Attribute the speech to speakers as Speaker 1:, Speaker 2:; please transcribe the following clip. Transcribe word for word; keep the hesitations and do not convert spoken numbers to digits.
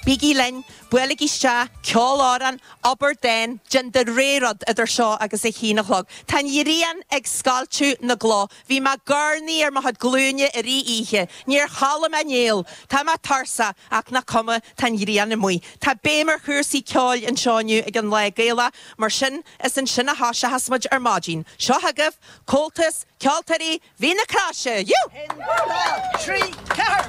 Speaker 1: Bígí linn, buailigí isteach, ceol amhrán, abair dán, déan do rogha rud idir seo agus a haon a chlog. Tá an ghrian ag scoilteadh na gcloch, Bhí mé ag urnaí ar mo chuid glúine i rith oíche, Níor chodlaigh mé néal, Tá mé tuirseach ach nach cuma tá an ghrian amuigh. Tá béim ar chúrsaí ceoil anseo inniu ag an Lá Gaelach, mar sin is ansin a thoiseochas muid ar maidin. Seo chugaibh, Comhaltas, Ceoltóirí Mhín na Croise, Jú!
Speaker 2: Trí ceathair.